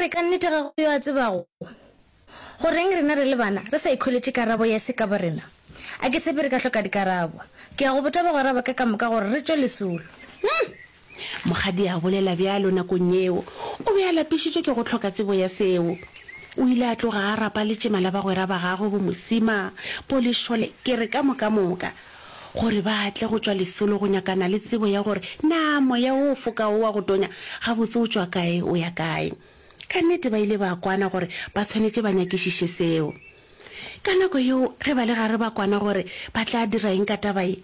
re ka nnete ga go yo a tsebago? Go reng rena re le bana re sa ikhweletše karabo ya se ka borena? A ke tshepe re ka hloka dikarabo. Ke ya go botša bagwera ba ka ka moka gore re tšwe lesolo. Hum! Mokgadi a bolela bjalo nakong yeo. O be a lapišitšwe ke go hloka tsebo ya seo. O ile a tloga a rapa letšema la bagwera ba gagwe bo Mosima, bo Lešole, ke re ka moka moka, gore ba tle go tšwa lesolo go nyakana le tsebo ya gore na moya wo o fokago wa go tonya gabotse o tšwa kae o ya kae. Ka nnete ba ile ba kwana gore ba tshwanetše ba nyakišiše seo. Ka nako yeo ge ba le gare ba kwana gore ba tla dira eng ka taba ye,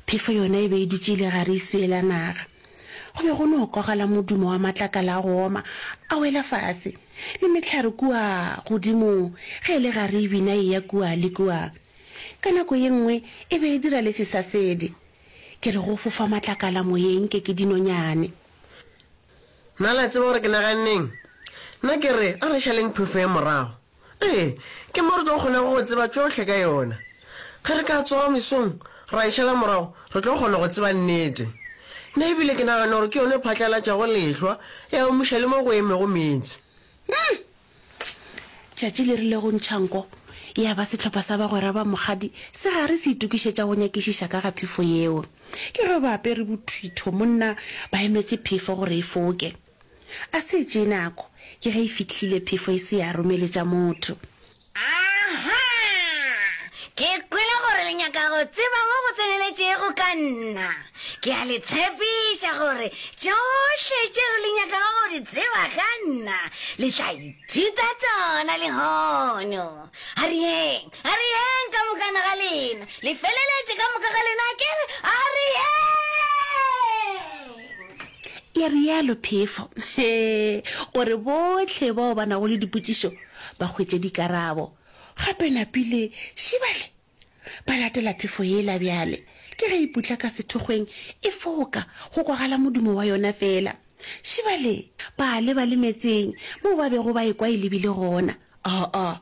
phefo yona e be e dutše e le gare e swiela naga. Go be go no kwagala modumo wa matlakala a go oma a wela fase, le mehlare kua godimo ge e le gare e bina e eya kua le kua. Ka nako ye nngwe e be e dira le sesasedi. Ke re go fofa matlakala moyeng nke ke dinonyane. Na le a tseba gore ke naganneng? Nna ke re a re šaleng phefo ye morago. Ee, ke mo re tlo kgonago go tseba tšohle ka yona. Ge re ka tsoga mesong ra e šala morago, re tlo kgona go tseba nnete. Nna e bile ke nagana gore ke yona e phatlalatšago lehlwa, ya omiša le mo go emego meetse. Hum! Tšatši le rile go ntšha nko, ya ba sehlopha sa bagwera ba Mokgadi se gare se itokišetša go nyakišiša ka ga phefo yeo. Ke ge ba apere bothitho monna ba emetše phefo gore e foke. A se tšee nako, ke ge e fihlile phefo e se ya romeletša motho. Aha! Ke kwele gore le nyaka go tseba mo go tseneletšego ka nna. Ke a le tshepiša gore tšohle tšeo le nyakago go di tseba ka nna, le tla ithuta tšona lehono. A re yeng, a re yeng ka mokana ga lena. Le feleletše ka moka ga lena, ke re, a re yeng! Ya realo phefo, gore bohle bao ba nago le dipotšišo ba hwetše dikarabo. Gape napile šibale ba latela phefo yela bjale. Ke ge e putla ka sethokgweng e foka, go kwagala modumo wa yona feela. Šibale ba leba le metseng moo ba bego ba ekwa e lebile gona. Aa,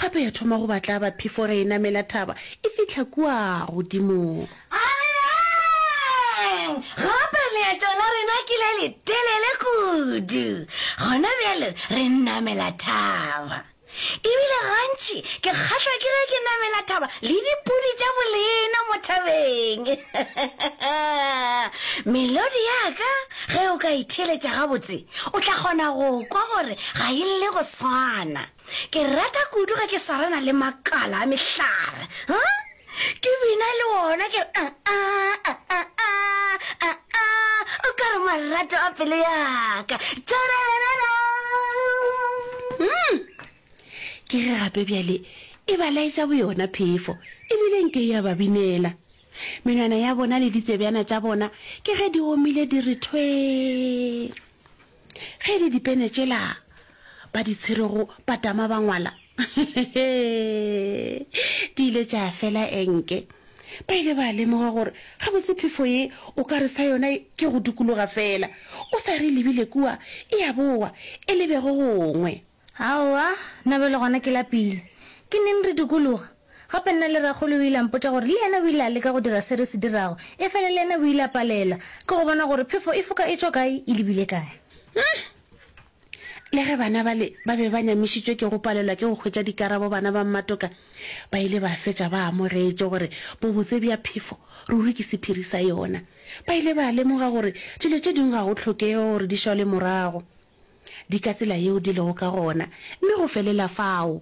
gape ya thoma go ba tlaba phefo ge e namela thaba e fihla kua godimo. A re yeng! Gape leeto la rena ke le letelele kudu. Gona bjale re namela thaba. E bile gantši ke kgahlwa ke ge ke namela thaba le dipudi tša bolena mo thabeng. Melodi ya ka ge o ka e theeletša gabotse, o tla kgona go kwa gore ga e lle go swana. Ke rata kudu ge ke swarana le makala a mehlare. Huh? Ke bina le wona ke re ah ah ah ah ah ah ah o ka re marato a pelo ya ka. Tarararara. Mm. Ke ge gape bjale e ba laetša boyona phefo, ebile nke e a ba binela. Menwana ya bona le ditsebjana tša bona ke ge di omile di re thwee. Ge e le dipene tšela ba di tshwerego ba tama ba ngwala, di ile tša fela enke. Ba ile ba lemoga gore gabotse phefo ye o ka re sa yona ke go dikologa feela, o sa re e lebile kua e a boa e lebe go gongwe. Aowa, nna bjale gona ke lapile. Ke neng re dikologa? Gape nna le rakgolo o ile a mpotša gore le yena o ile a leka go dira se re se dirago, efela le yena o ile a palelwa ke go bona gore phefo e foka e tšwa kae e lebile kae. Le ge bana bale ba be ba nyamišitšwe ke go palelwa ke go hwetša dikarabo bana ba Mmatoka ba ile ba fetša ba amogetše gore bobotse bja phefo ruri ke sephiri sa yona. Ba ile ba lemoga gore dilo tše dingwe ga go hlokege gore di šalwe morago. Di ka tsela yeo di lego ka gona, mme go felela fao.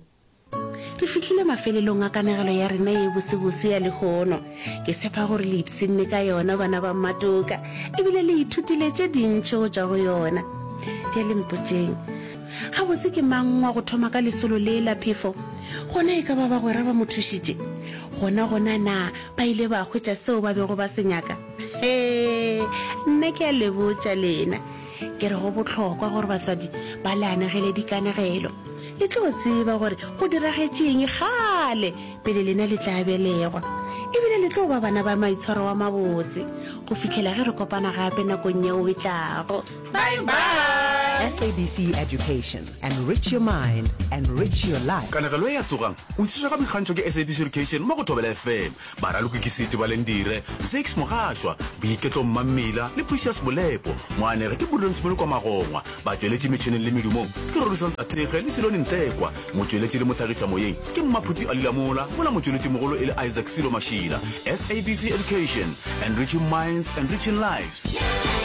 Re fihlile mafelelong a kanegelo ya rena ye bosebose ya lehono. Ke tshepa gore le ipshinne ka yona, bana ba Mmatoka, ebile le ithutile tše dintši go tšwa go yona. Bjale mpotšeng, gabotse ke mang wa go thoma ka lesolo le la phefo? Gona e ka ba bagwera ba mo thušitše? Gona gona na ba ile ba hwetša seo ba bego ba se nyaka? Hee, nna ke a le botša lena. Ke re go bohlokwa gore batswadi ba le anegele dikanegelo. Le tlo tseba gore go diragetše eng kgale pele lena le tla belegwa. E bile le tlo ba bana ba maitshwaro a mabotse go fihlela ge re kopana gape nakong yeo e tlago. Bye bye! SABC Education, enrich your mind, enrich your life. Kanegelo ye ya Tsogang o tlišetšwa ka boikgantšho ke SABC Education mo go Thobela FM. Baraloki ke Siti Balendire, Zakes Mogašwa, Boiketlo Mmammila le Precious Molepo. Moanegi ke Prudence Molokwa Magongwa. Batšweletši metšhineng le medumong ke Rorisang Sathekge le Siloni Ntekwa. Motšweletši le mohlagišamoyeng ke Mmaphuti Ali Lamola mola motšweletšimogolo e le Isaac Silo Mashila. SABC Education, enriching minds, enriching lives.